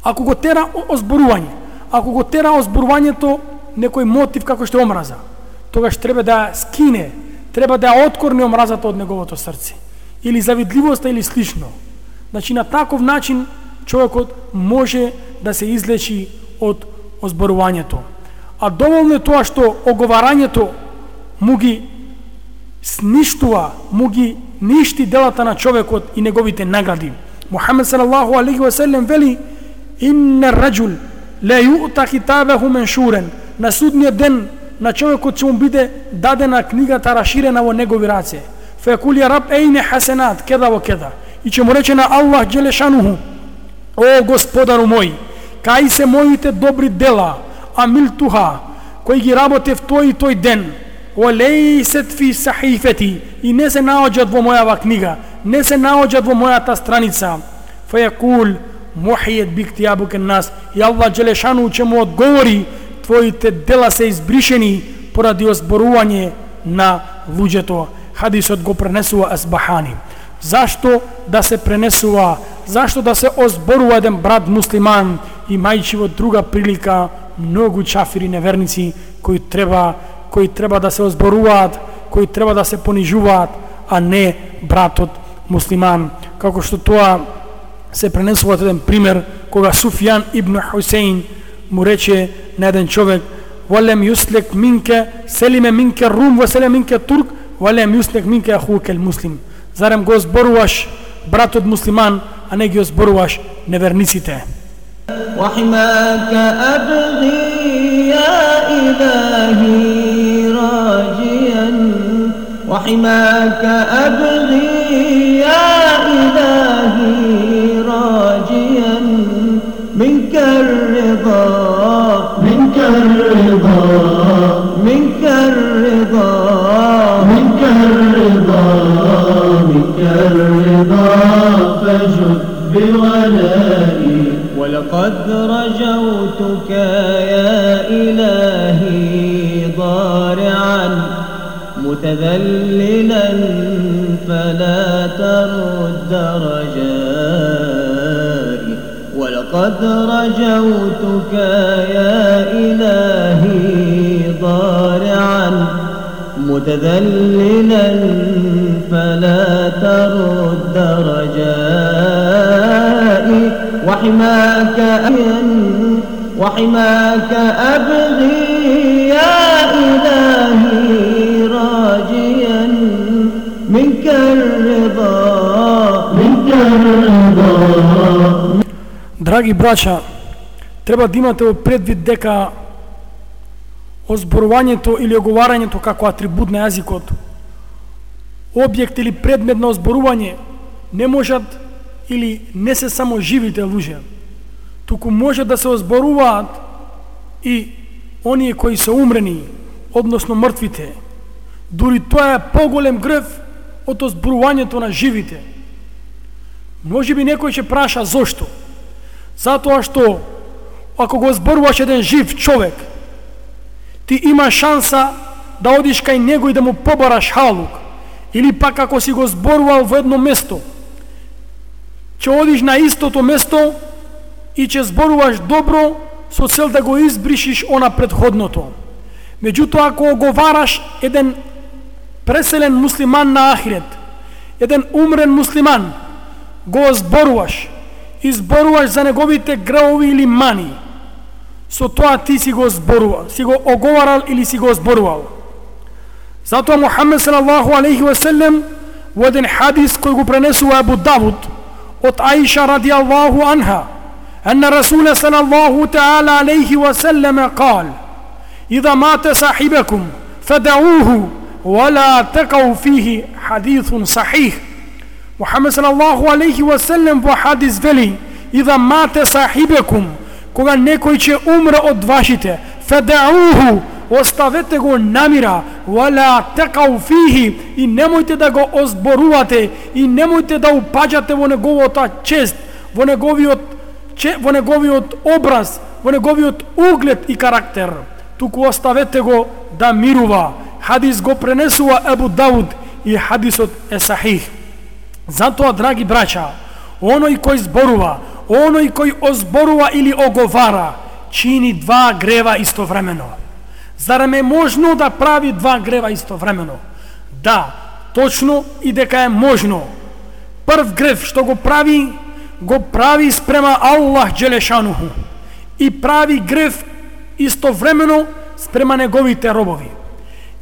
Ако го тера озборување, ако го тера озборувањето некој мотив како што е омраза, тогаш треба да скине, треба да ја откорне омразата од неговото срце, или завидливоста или слично. Значи на таков начин човекот може да се излечи од озборувањето. А доволно е тоа што оговарањето му ги сништува, му ги ништи делата на човекот и неговите награди. Мухамед салаллаху алейхи ве селем вели: инна раджул ла ю'та китабаху меншурен. На судниот ден на човекот ќе му биде дадена книгата раширена во негови раце. Фекул ја раб ейне хасенат кеда во кеда. И ќе му рече на Аллах Джелешануху: о Господару мој, кај се моите добри дела, амилтуха, кои ги работев тој и тој ден, олейсет фи сахифети, и не се наоѓат во мојава книга, не се наоѓат во мојата страница. Фејакул мухијет биктијабу кен нас, и Аллах Джелешану ќе му одговори: твоите дела се избришени поради озборување на луѓето. Хадисот го пренесува Асбахани. Зашто да се пренесува, зашто да се озборува еден брат муслиман, имајќи во друга прилика многу чафири неверници кои треба, кои треба да се озборуваат, кои треба да се понижуваат, а не братот муслиман. Како што тоа се пренесува еден пример кога Суфјан ибн Хусейн му рече на еден човек: "Валем юслек минке селиме минке рум ва селиме минке турк, валем юслек минке ахукел муслим." Зарем го зборуваш братот муслиман, а не ги зборуваш неверниците? وحماك أبغي يا إلهي وحماك أبغي يا إلهي راجيا منك الرضا منك الرضا منك الرضا منك الرضا منك الرضا فجد بولائي ولقد رجوتك يا إلهي ضارعا متذللا فلا ترد رجائي ولقد رجوتك يا إلهي ضارعا متذللا فلا ترد رجائي وحماك وحماك أبغي يا إلهي راجيا منك الرضا منك الرضا. Драги браќа, треба да имате во предвид дека озборувањето или оговарањето како атрибут на јазикот, објект или предмет на озборување, не можат или не се само живите луѓе, туку може да се озборуваат и оние кои се умрени, односно мртвите. Дури тоа е поголем грев од озборувањето на живите. Може би некој ќе праша зошто? Затоа што ако го озборуваш еден жив човек, ти има шанса да одиш кај него и да му побараш халук, или пак ако си го зборувал во едно место, ќе одиш на истото место и ќе зборуваш добро со цел да го избришиш она предходното. Меѓутоа, ако оговараш еден преселен муслиман на ахирет, еден умрен муслиман, го зборуваш, изборуваш за неговите греови или мани, со тоа ти си го зборувал, си го оговарал или си го зборувал. Затоа Мухаммед салаллаху алейхи ва селем во еден хадис кој го пренесува Абу Давуд од Аиша радијаллаху анха, أن رسول صلى الله تعالى عليه وسلم قال: إذا مات صاحبكم فدعوه ولا تقوا فيه. حديث صحيح. محمد صلى الله عليه وسلم во хадис вели: إذا مات صاحبكم, кога некој ќе умре од вашите, فدعوه, оставете го намира, ولا تقوا فيه, и немојте да го озборувате и немојте да упаѓате во неговата чест, во неговиот во неговиот образ, во неговиот углед и карактер, туку оставете го да мирува. Хадис го пренесува Абу Дауд и хадисот е сахих. Затоа, драги браќа, оној кој зборува, оној кој озборува или оговара, чини два грева истовремено. Зарем е можно да прави два грева истовремено? Да, точно, и дека е можно. Прв грев што го прави, го прави спрема Аллах Джелешануху и прави грев истовремено спрема неговите робови.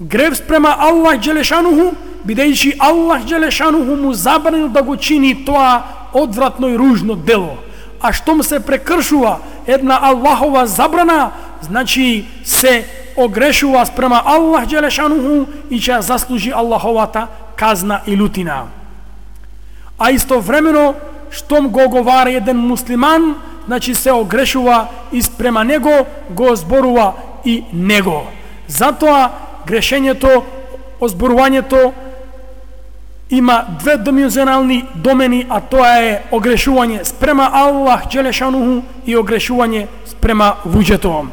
Грев спрема Аллах Джелешануху, бидејќи Аллах Джелешануху му забранил да го чини тоа одвратно и ружно дело. А штом се прекршува една Аллахова забрана, значи се огрешува спрема Аллах Джелешануху и ќе заслужи Аллаховата казна и лутина. А истовремено, штом го оговара еден муслиман, значи се огрешува и спрема него го зборува и него. Затоа грешењето, озборувањето има две dimenzionalни домени, а тоа е огрешување спрема Аллах Джелешануху и огрешување спрема луѓето.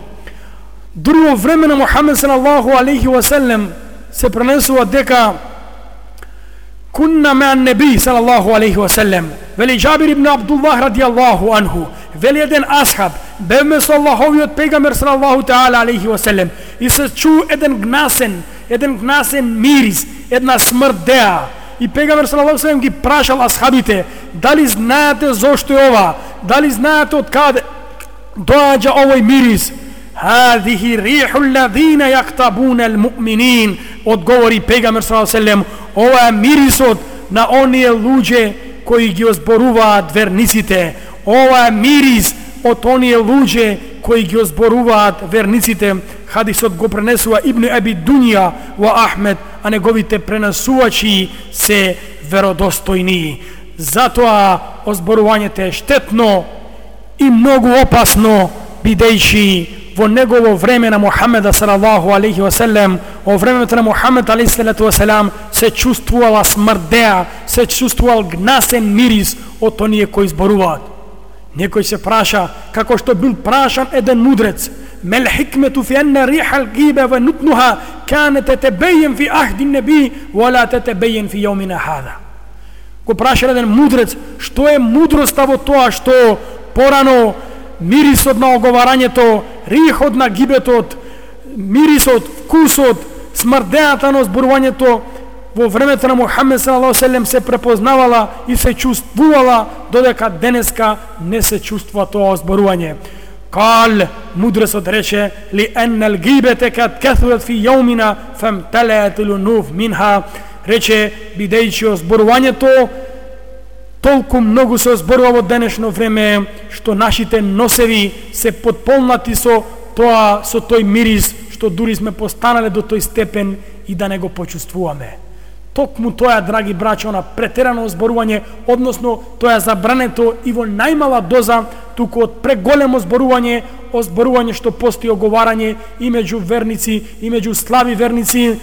Друго време на Мухаммед салаллаху алейхи ва селем се пренесува дека كنا مع النبي صلى الله عليه وسلم. Вели Джабир ибн Абдуллах радијаллаху анху, вели еден асхаб, бевме со Аллаховиот пегамбер салаллаху таала алейхи ва селем, и се чу еден гнасен, еден гнасен мирис, една смрдеа. И пегамбер салаллаху алейхи ва селем ги прашал асхабите: дали знаете зошто е ова? Дали знаете од каде доаѓа овој мирис? Хадихи риху алладина јактабуна алмуъминин. Одговори пегамбер салаллаху алейхи ва селем: ова е мирисот на оние луѓе кои ги озборуваат верниците. Ова е мирис од оние луѓе кои ги озборуваат верниците. Хадисот го пренесува Ибн Аби Дунја во Ахмед а неговите пренесувачи се веродостојни. Затоа озборувањето е штетно и многу опасно, бидејќи во негово време на Мухамеда салаллаху алейхи ва селем, во времето на Мухамед алейхи салату ва селам, се чувствувала смрдеа, се чувствувал гнасен мирис од оние кои зборуваат. Некој се праша, како што бил прашан еден мудрец: мел хикмету фи анна рихал гибе ва нутнуха канет тетебејен фи ахди неби ва ла тетебејен фи јаумина хада. Го праша еден мудрец, што е мудроста во тоа што порано мирисот на оговарањето, рихот на гибетот, мирисот, вкусот, смрдената на зборувањето во времето на Мухамед салаллаху алейхи ва селем се препознавала и се чувствувала, додека денеска не се чувствува тоа зборување. Кал, мудрецот рече: ли еннел гибете кад каthурат фи јаумина фамталаат лунуф минха. Рече, бидејќи зборувањето толку многу се зборува во денешно време, што нашите носеви се потполнати со тоа, со тој мирис, што дури сме постанале до тој степен и да не го почувствуваме. Токму тоа, драги браќа, на претерано зборување, односно тоа е забрането и во најмала доза, туку од преголемо зборување, о зборување што постои оговарање и меѓу верници, и меѓу слаби верници,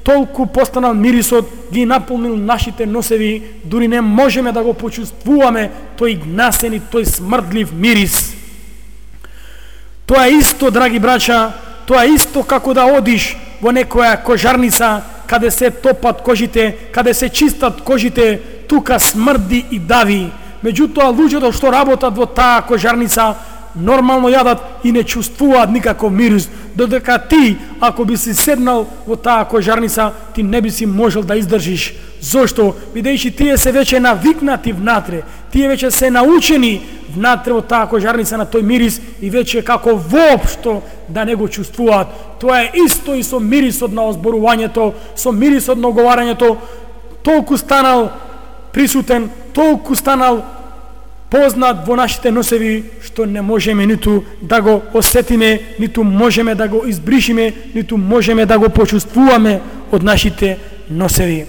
толку постанал мирисот, ги наполнил нашите носеви, дури не можеме да го почувствуваме тој гнасен и тој смрдлив мирис. Тоа е исто, драги браќа, тоа е исто како да одиш во некоја кожарница, каде се топат кожите, каде се чистат кожите, тука смрди и дави. Меѓутоа, луѓето што работат во таа кожарница нормално јадат и не чувствуваат никаков мирис, додека ти, ако би си седнал во таа кожарница, ти не би си можел да издржиш. Зошто? Бидејќи тие се веќе навикнати внатре, тие веќе се научени внатре во таа кожарница на тој мирис и веќе како воопшто да не го чувствуваат. Тоа е исто и со мирисот на озборувањето, со мирисот на оговарањето, толку станал присутен, толку станал познат во нашите носеви, што не можеме ниту да го осетиме, ниту можеме да го избришиме, ниту можеме да го почувствуваме од нашите носеви.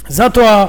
Затоа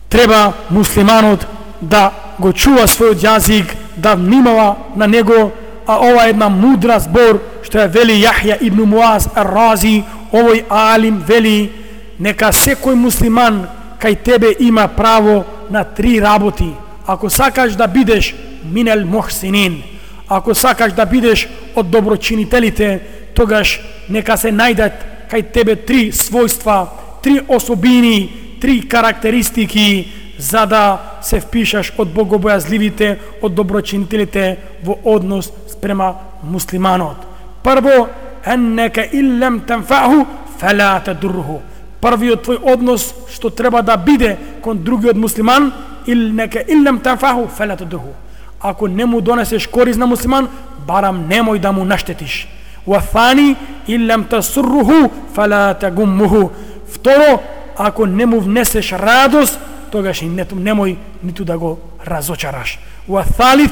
треба муслиманот да го чува својот јазик, да внимава на него, а ова е една мудра збор што ја вели Јахја ибн Муаз ар-Рази, овој алим вели: нека секој муслиман кај тебе има право на три работи. Ако сакаш да бидеш минел мухсинин, ако сакаш да бидеш од доброчинителите, тогаш нека се најдат кај тебе три својства, три особини, три карактеристики, за да се впишаш од богобојазливите, од доброчинителите во однос спрема муслиманот. Прво, еннека иллем танфаху фала тадурруху. Првиот твој однос што треба да биде кон другиот муслиман, илнека иллем танфаху фала тадурруху. Ако не му донесеш корис на муслиман, барам немој да му наштетиш. Ва фани иллем тасурруху фала тагуммуху. Второ, ако не му внесеш радост, тогаш и немој ниту да го разочараш. Ва салит,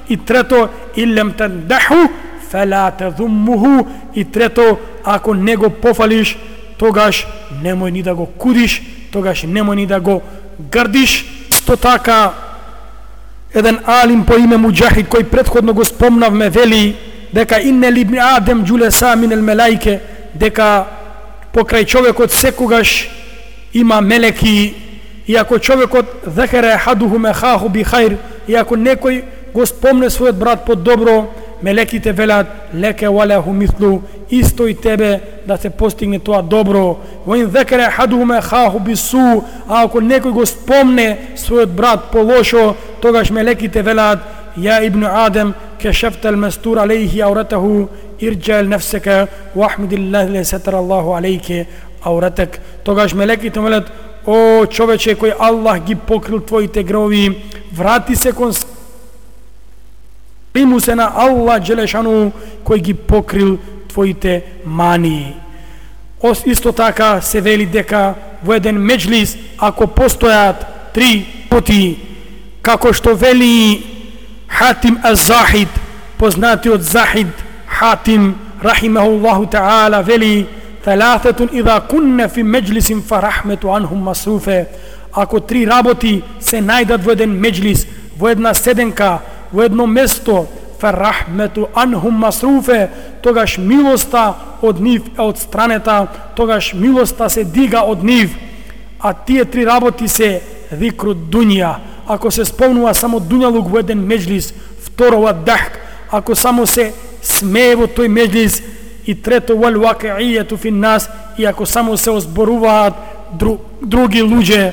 и трето, иллем тандаху фала тадуммуху. И трето, ако не го пофалиш, тогаш немој ни да го кудиш, тогаш немој ни да го грдиш. Сто така, еден алим по име Муџахид, кој претходно го спомнавме, вели дека инне ли ибн Адем џулеса минел мелаике, дека покрај човекот секогаш има мелеки, и ако човекот зекере хадуху мехаху би хајр, и ако некој го спомне својот брат по добро, мелеките велат леке валеху мислу, исто и тебе да се постигне тоа добро. Во ин зекере хадуху мехаху би су, а ако некој го спомне својот брат по лошо, тогаш мелеките велат ја ибн Адем кешефтел местур алейхи ауратаху ирджал нефсека вахмидиллахи ле сетер Аллаху алейке ауратек. Тогаш мелеките велат: о човече кој Аллах ги покрил твоите греови, врати се кон приму се на Аллах Джелешану кој ги покрил твоите мани. Ос исто така се вели дека во еден меџлис, ако постојат три поти, како што вели Хатим аз-Захид, познатиот Захид Хатим рахимахуллаху таала, вели Thalathatun idha kunna fi majlisin fa rahmetu anhum masrufe. Ако три работи се најдат во еден меджлис, во една седенка, во едно место, фарахмету анхум масруфе, тогаш милоста од нив е од странета, тогаш милоста се дига од нив. А тие три работи се зикру дунја. Ако се спомнува само дуњалук во еден меджлис, второ ва дахк, ако само се смее во тој меджлис, и трето вал вакијијету фин нас, и ако само се озборуваат дру, други луѓе,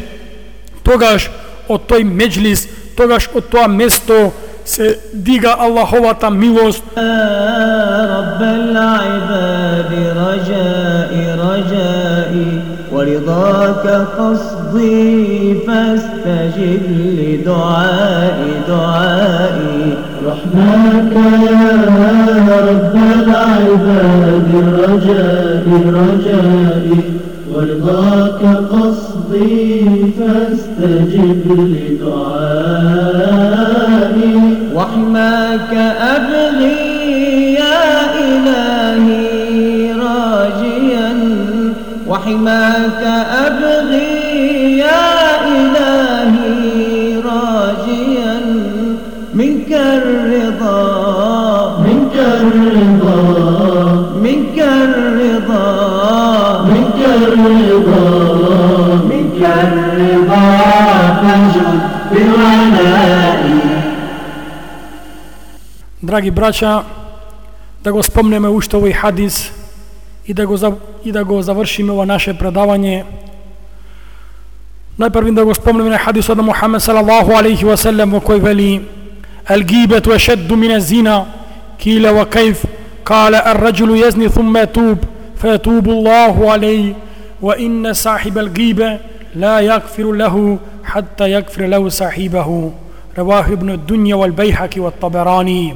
тогаш од тој меджлис, тогаш од тоа место се дига Аллаховата милост. Раббел ибади раджаи раджаи ورضاك قصدي فاستجب لدعائي دعائي رحماك يا رب العباد رجائي رجائي ورضاك قصدي فاستجب لدعائي وحماك أبغي يا إلهي راجيا وحماك أبغي يا إلهي راجيا منك الرضا منك الرضا منك الرضا منك الرضا منك الرضا فانجد بالعناء. Драги браќа, да го спомнеме уште овој хадис и да го и да го завршиме ова наше предавање. Најпрво да го спомнеме на хадисот на Мухамед салаллаху алейхи ва саллем во кој вели: "Ал-гибату ашадду мин az-зина, кила ва кайф, qala ar-rajulu yazni thumma yatub, fayatubu Allahu alayhi, wa inna sahib al-ghiba la yaghfiru lahu hatta yaghfira lahu sahibahu." Rawahu ibn ad-Dunya wal-Bayhaqi wat-Tabarani.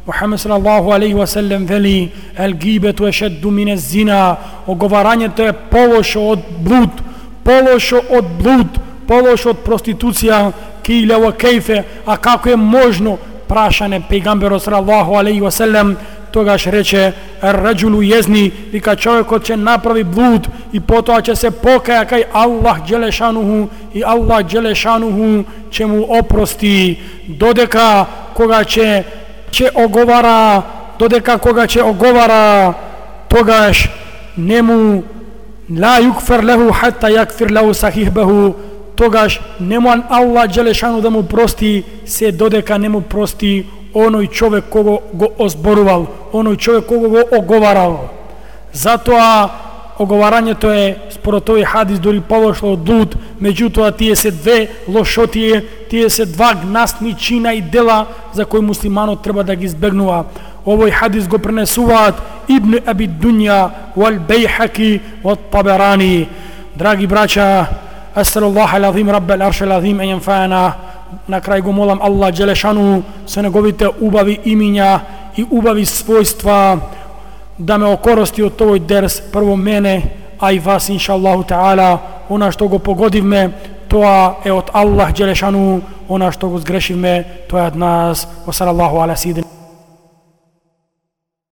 Muhammed sallallahu alaihi wasallam veli: "Al-gibatu ashaddu min az-zina." Оговарањето е полошо од блуд, полошо од блуд, полошо од проституција. Киле ва кајфе, а како е можно? Прашане пејгамберот салlallahu алейхи ва саллем, тогаш рече: "Ар-раджулу језни", вика човекот ќе направи блуд и потоа ќе се покаја кај Аллах џелешануху и Аллах џелешануху ќе му опрости, додека кога ќе ќе оговара, додека кога ќе оговара, тогаш нему ла юкфер леху хатта якфир леху сахибаху, тогаш нему Аллах џелешану да му прости се додека не му прости оној човек кого го озборувал, оној човек кого го оговарал. Затоа оговарањето е според тој хадис дори полошо од блуд, меѓутоа тие се две лошотие, тие се два гнасни чина и дела за кои муслиманот треба да ги избегнува. Овој хадис го пренесуваат Ибн Аби Дунја, вал Бейхаки, вал Табарани. Драги браќа, асалаллаху алазим раббел аршел азим ен јанфаана. На крај го молам Аллах џелешану со неговите убави имиња и убави својства да ме окорости од овој дерс, прво мене, а и вас иншаллаху таала. Она што го погодивме, тоа е од Аллах џелешану, она што го сгрешивме, тоа е од нас. Ва салаллаху ала сидин.